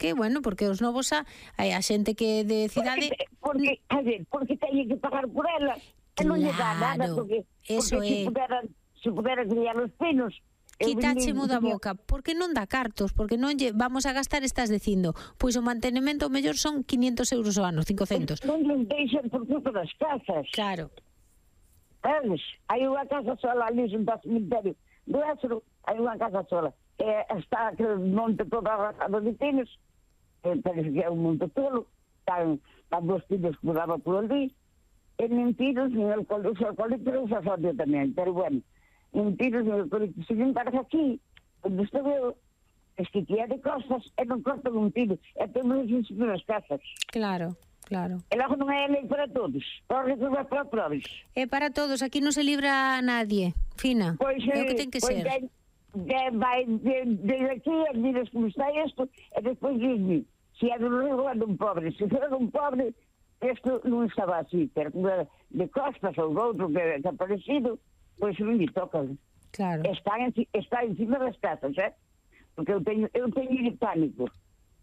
porque, bueno, porque os novos a xente que de cidade... Porque teñen que pagar por ela. E non lle dá nada, porque se pudera criar os pinos... Quitáchemo da boca, porque non dá cartos, porque non lle vamos a gastar, estás dicindo, pois o mantenimento o mellor son 500 euros ao ano, 500. Non lle deixan por culpa das casas. Claro. Sabes? Hai unha casa sola ali junto ao cemiterio do Ézaro, hai unha casa sola. Está aquele monte todo arrasado de pinos, parece que é un monte tolo, están dos pinos que mudaba por ali, e mentiras, en el colectivo se asocia tamén, pero bueno, mentiras, en el colectivo, se encarga aquí, onde estou eu, es que é de costas, e non cortan un tiro, e temos as nas casas. Claro. Claro. E logo non é lei para todos, para resolver para todos. É para todos, aquí non se libra a nadie, Fina, pois, é o que ten que ser. Vai desde aquí, dices como está isto, e despois diz-me, se é do rico é dun pobre, se é dun pobre, isto non estaba así, pero de costas ou de outro que é parecido, pois non me toca. Claro. Está encima das casas, porque eu teño pánico.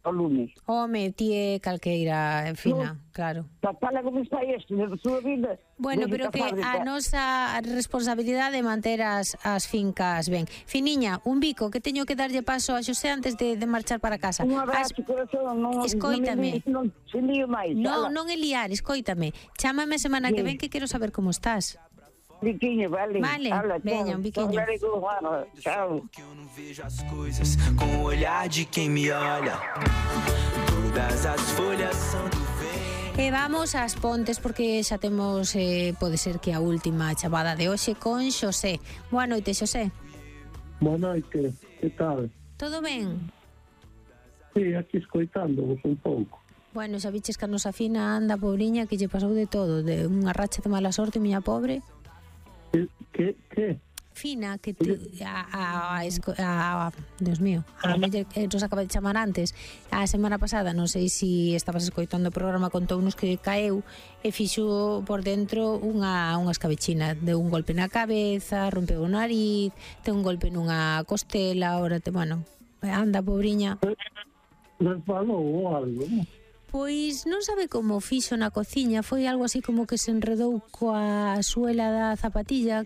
O lume. Home, ti é calqueira, Fina, claro. Fala como está isto, na súa vida. Bueno, pero que a nosa responsabilidade é manter as fincas ben. Finiña, un bico, que teño que darlle paso a Xosé antes de marchar para casa. Un abrazo, corazón, escoítame. Non se lío máis. Non é liar, escoítame. Chámame a semana que ven que quero saber como estás. Biquinho, vale. Veña, un biquinho. Chao. Que eu não vejo as coisas com o olhar de quem me olha. Todas as folhas são do vento. E vamos ás Pontes porque xa temos, pode ser que a última chamada de hoxe con Xosé. Boa noite, Xosé. Boa noite, que tal? Todo ben? Sí, aquí escoitándovos un pouco. Bueno, xa viches que a nosa Fina anda, pobriña, que lle pasou de todo, de unha racha de mala sorte, miña pobre. Que? Fina, que Dios mío, a muller que nos acaba de chamar antes, a semana pasada, non sei se estabas escoitando o programa, contounos que caeu e fixo por dentro unha escabechina, deu un golpe na cabeza, rompeu o nariz, ten un golpe nunha costela, ahora anda, pobriña. Resbalou ou algo, non? Pois non sabe como fixo na cociña, foi algo así como que se enredou coa suela da zapatilla,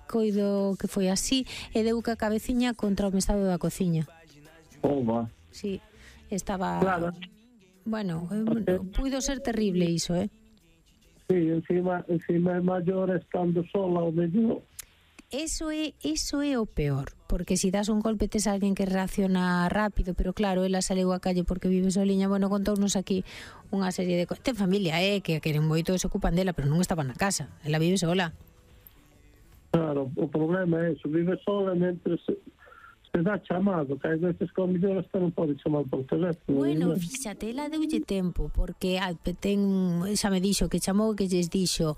coido que foi así, e deu ca cabeciña contra o mesado da cociña. Oba. Sí, estaba... Claro. Bueno, puido ser terrible iso, Sí, encima é maior estando sola o mellor. Eso é o peor, porque se das un golpe tes alguén que reacciona rápido, pero claro, ela saleu á calle porque vive soliña. Bueno, contounos aquí unha serie de ten familia, que queren moito e se ocupan dela, pero non estaba na casa, ela vive sola. Claro, o problema é eso, vive sola mentre se dá chamado, que hai veces que o mellor hasta non pode chamar por teléfono. Bueno, fíxate, ela deulle tempo, porque xa me dixo que chamou, que lles dixo,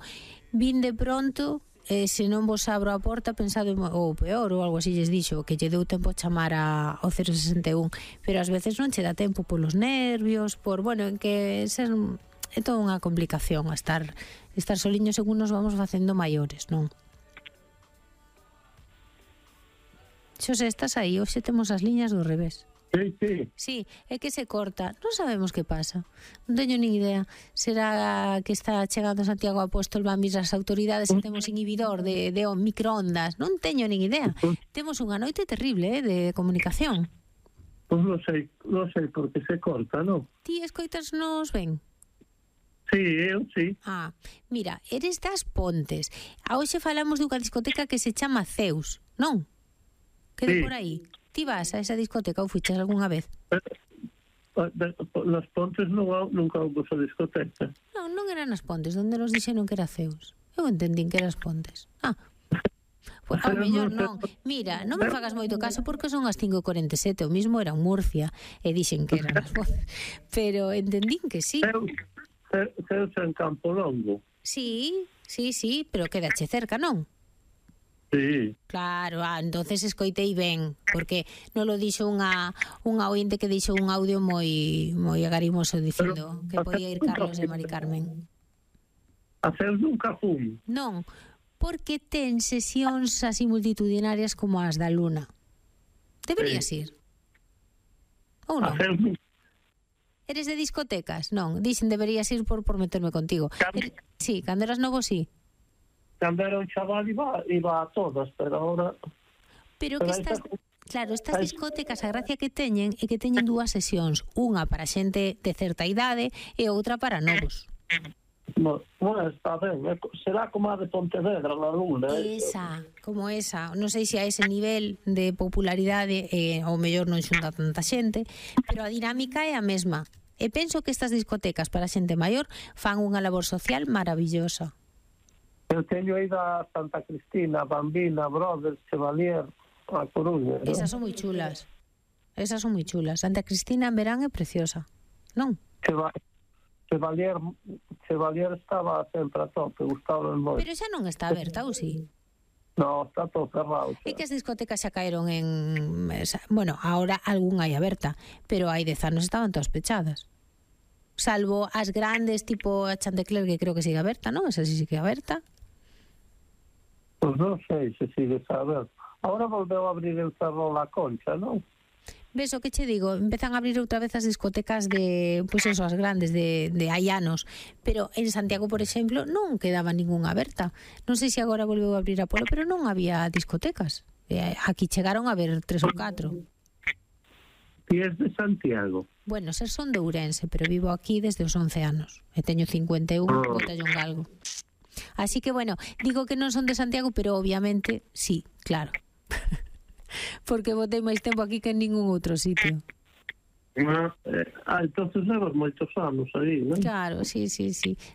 vin de pronto, se non vos abro a porta, pensado ou peor, ou algo así lles dixo, que lle deu tempo a chamar ao 061, pero ás veces non che dá tempo polos nervios, en que é toda unha complicación estar soliños según nos vamos facendo maiores, non? Xosé, estás aí? Hoxe temos as liñas do revés. Sí, é que se corta. Non sabemos que pasa. Non teño nin idea. Será que está chegando Santiago Apóstol, van vir as autoridades e temos inhibidor de microondas. Non teño nin idea. Temos unha noite terrible de comunicación. Pois non sei porque se corta, non? Ti escoitas nos ben? Sí, eu sí. Mira, eres das Pontes. A hoxe falamos dunha discoteca que se chama Zeus, non? Que de por aí. Ti vas a esa discoteca ou fuches algunha vez? Nas Pontes nunca houve esa discoteca. Non eran nas Pontes, onde nos dixeron que era Zeus. Eu entendín que eras Pontes. Pues, ao mellor non. Mira, non me fagas moito caso porque son as 5:47, o mismo era en Murcia e dixen que eran as Pontes. Pero entendín que sí. Zeus en Campo Longo. Sí, pero quedache cerca, non? Sí. Claro, entonces escoitei ben, porque non lo dixo unha ointe que dixo un audio moi agarimoso dicindo que podía ir Carlos e Mari Carmen. A Zeus nunca fui. Non, porque ten sesións así multitudinarias como as da Luna. Deberías ir. Ou non? Eres de discotecas? Non, dixen deberías ir por meterme contigo. Sí, cando eras novo, sí. Cando era un chaval iba a todas, pero ahora... Pero que estas... Claro, estas discotecas, a gracia que teñen é que teñen dúas sesións, unha para xente de certa idade e outra para novos. Bueno, está ben, será como a de Pontevedra, na Luna. Esa, como esa, non sei se a ese nivel de popularidade ao mellor non xunta tanta xente, pero a dinámica é a mesma. E penso que estas discotecas para xente maior fan unha labor social maravillosa. Eu teño ido a Santa Cristina, Bambina, Brothers, Chevalier, a Coruña. Esas son moi chulas. Esas son moi chulas. Santa Cristina en verán é preciosa, non? Chevalier estaba sempre a tope, gustaba moito. Pero xa non está aberta, ou si? No, está todo cerrado. É que as discotecas xa caeron en... Bueno, ahora algún hai aberta, pero hai 10 anos estaban todas pechadas. Salvo as grandes, tipo a Chantecler, que creo que sigue aberta, non? Esa sí sigue aberta. Pois non sei se sigue aberta. Ahora volveu a abrir el Ferrol a Concha, non? Ves o que che digo, empezan a abrir outra vez as discotecas de, pois eso, as grandes de hai anos, pero en Santiago, por exemplo, non quedaba ningunha aberta. Non sei se agora volveu a abrir a Polo, pero non había discotecas. Aquí chegaron a ver 3 ou 4. Ti és de Santiago? Bueno, ser son de Ourense, pero vivo aquí desde os 11 anos. E teño 51, botallo un galgo. Así que, bueno, digo que non son de Santiago, pero obviamente, sí, claro. Porque botei máis tempo aquí que en ningún outro sitio. Entonces levas moitos anos aí, non? Claro, sí.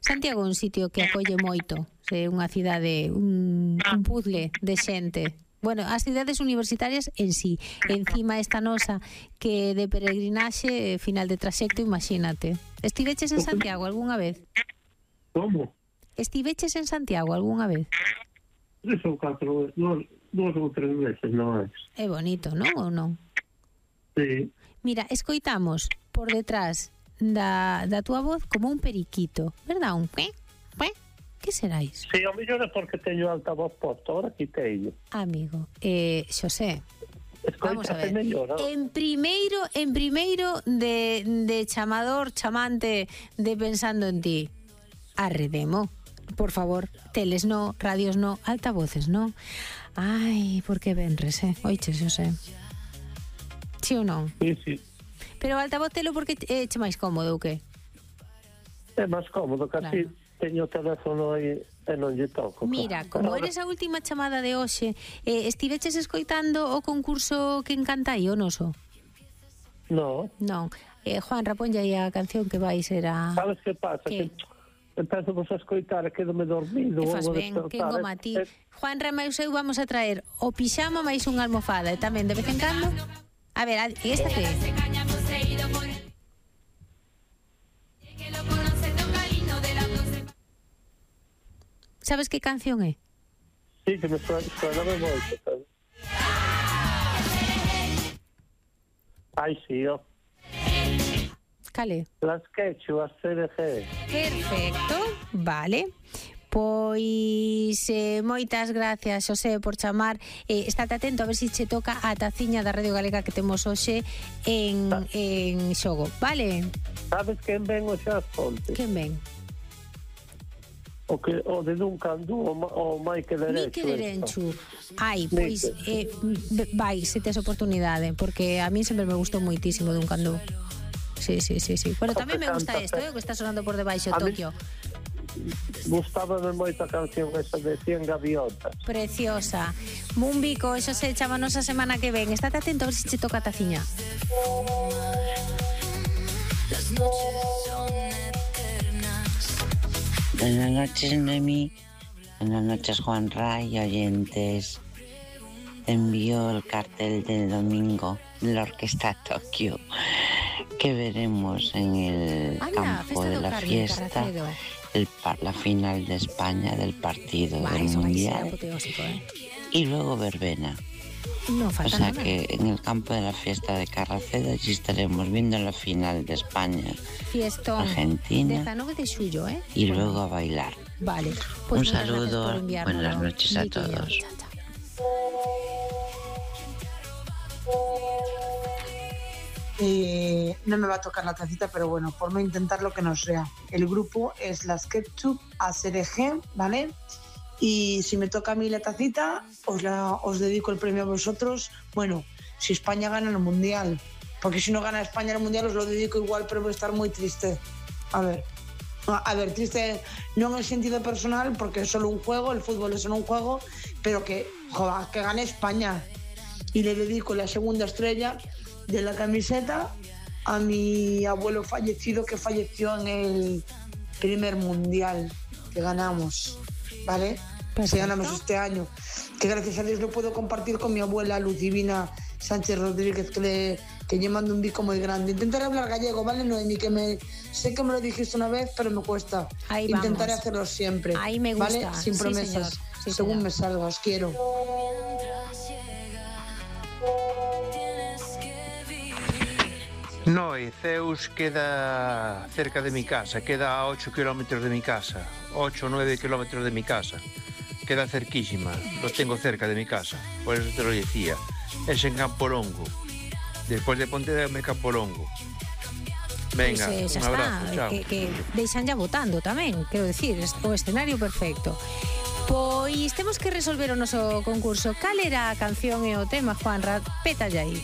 Santiago é un sitio que acolle moito. É unha cidade, un puzzle de xente. Bueno, as cidades universitarias en sí. Encima esta nosa que de peregrinaxe, final de traxecto, imagínate. Estiveches en Santiago algunha vez? Como? Estiveches en Santiago algunha vez? 3 ou 4 veces, 2 ou 3 veces, non é? É bonito, non ou non? Sí. Mira, escoitamos por detrás da túa voz como un periquito, verdad? Un que? Que será iso? Sí, ao mellor é porque teño altavoz posto, ahora quiteillo. Amigo, Xosé, vamos a ver. Mellor, en primeiro de chamador, chamante de pensando en ti, arredemo, por favor, teles no, radios no, altavoces no. Ai, por que venres, oiche, Xosé. Sí ou non? Sí. Pero o altavoz telo porque é máis cómodo ou que? É máis cómodo, casi claro. Teño o teléfono aí e non lle toco. Mira, como eres a última chamada de hoxe, estiveches escoitando o concurso que encanta aí, o noso? Non. Non. Juan, raponlle aí a canción que vai ser a... Sabes que pasa? Que empezo vos a escoitar e quedo-me dormido. E faz ben, que engoma a ti. Juan Rama e eu vamos a traer o pixama máis unha almofada e tamén de vez en cando... A ver, esta que é? Sabes que canción é? Sí, que me suena moito. Ai, sí, ó. Cale? Las quechuas CDG. Perfecto, vale. Pois moitas gracias, Xosé, por chamar. Estate atento a ver se che toca a taciña da Radio Galega que temos hoxe en xogo, vale? Sabes quen ven hoxe ás Pontes? Quen ven? O de Duncan Du, o Michael Erenchu. Ai, pois vai, se tes oportunidade, porque a mí sempre me gustou moitísimo Duncan Du. Sí. Bueno, tamén me gusta isto, que está sonando por debaixo Tokio. Gustábame moito a canción esa de 100 gaviotas. Preciosa. Un bico, eso se chámanos a semana que ven. Estate atento a ver se che toca a taciña. Las noches son eternas. Buenas noches, Noemí. Buenas noches, Juan Ray, oyentes. Envío el cartel del domingo de la Orquesta Tokio que veremos en el campo de la fiesta. La final de España del partido del Mundial y luego verbena. No falta o sea nada. Que en el campo de la fiesta de Carracedo allí estaremos viendo la final de España Fiestón Argentina 19 de xullo, y luego a bailar. Vale, pues un saludo, buenas noches a todos. no me va a tocar la tacita, pero bueno, por no intentar lo que no sea. El grupo es las Ketchup ACRG, ¿vale? Y si me toca a mí la tacita, os dedico el premio a vosotros. Bueno, si España gana el Mundial, porque si no gana España el Mundial os lo dedico igual, pero voy a estar muy triste. A ver, triste no en el sentido personal, porque es solo un juego, el fútbol es solo un juego, pero que gane España. Y le dedico la segunda estrella de la camiseta a mi abuelo fallecido, que falleció en el primer mundial que ganamos, ¿vale? Que ganamos este año, que gracias a Dios lo puedo compartir con mi abuela Lucivina Sánchez Rodríguez, que yo mando un bico muy grande. Intentaré hablar gallego, ¿vale, Noemi? Sé que me lo dijiste una vez, pero me cuesta. Intentaré hacerlo siempre. Ahí me gusta. ¿Vale? Sin promesas, sí, según señor. me salga, os quiero. No, Ceus queda cerca de mi casa, queda a 8 kilómetros de mi casa, 8 o 9 kilómetros de mi casa. Queda cerquísima, lo tengo cerca de mi casa, por eso te lo decía. Es en Campolongo, después de Pontevedra, Campolongo. Venga, Pois, un abrazo, chao. Que deixan ya votando tamén, quero decir, o escenario perfecto. Pois temos que resolver o noso concurso. Cal era a canción e o tema, Juanra? Peta aí.